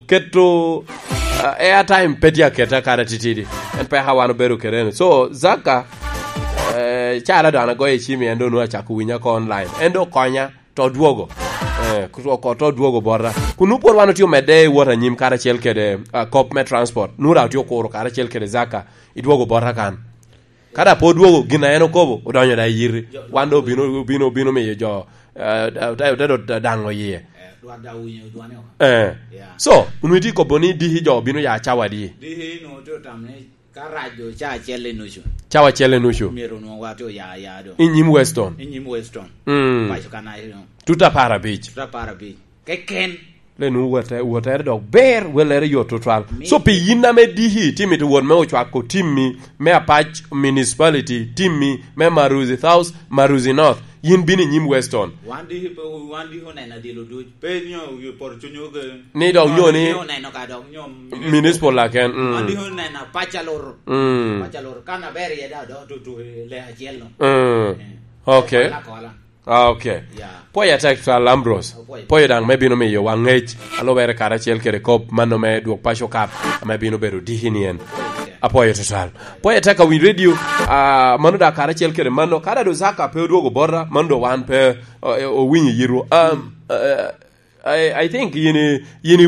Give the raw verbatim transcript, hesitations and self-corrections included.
Keto, uh, airtime pe tye aketa kara titidi. En peka wan obedo kede en. So, Zaka, eh, cara dano agoyo i cimi, en doŋ nwoŋo acako winyo oko online. En doŋ okonya, to dwogo. Eh, oko to dwogo bota. Kun nwoŋo pwod wan otye omedde i wot anyim karacel kede, uh, kop me transport. Nwoŋo daŋ otye okuro karacel kede Zaka, idwogo bota kan. Ka daŋ pe odwogo, gin a en okobo, odonyo daŋ i yiti. Jo, wan doŋ obino, obino, obino miyo jo, eh, te, te, te, te daŋo iye. Eh, dwat daŋ owinyo dwane oko. Eh. Yeah. So, onwoŋo itye kobo ni diki jo obino ya cawa adi? Diki nwoŋo tye otam ni ka rac doŋ ca acel i nucu. Cawa acel i nucu. Myero onwoŋo wa tye oya aya doŋ. I nyim Weston. I nyim Weston. Mm. Paco kan aye doŋ. Tuta apar abic. Tuta apar abic. Keken. Le nu wote, wotere dok ber, welere yot tutwal. Mi- So, pi yin ame diki, itye mito wot me ocwako timmi, me Apac Municipality, timmi, me Maruzi South, Maruzi North, yin bino i nyim Weston. Wan diki pe, wan diki oneno adilo duc. Pe nyo wi poro cunyo ge. Ni dok nyo ni Wan diki oneno ka dok nyo Municipal laken, mm. Wan diki oneno Apac aloro. Mm. Apac aloro. Kan aber iye da, dok tutu i le acel no. Mm. Eh. Okay. Kola, kola. Ah, okay. Yeah. Pwoyo atek tutwal, Ambrose. Apwoyo. Pwoyo daŋ me bino miyo wa ŋec, a lubere karacel kede kop mano me Dwog Paco Cup, ame bino bedo diki ni en. Apwoyo tutwal. Pwoyo atek awiny radio, ah, mano daŋ karacel kede mano. Kada do Zaka pe odwogo bota, mano do wan pe, eh, owinyo yitwu. Um, eh, I, I think yin i, yin i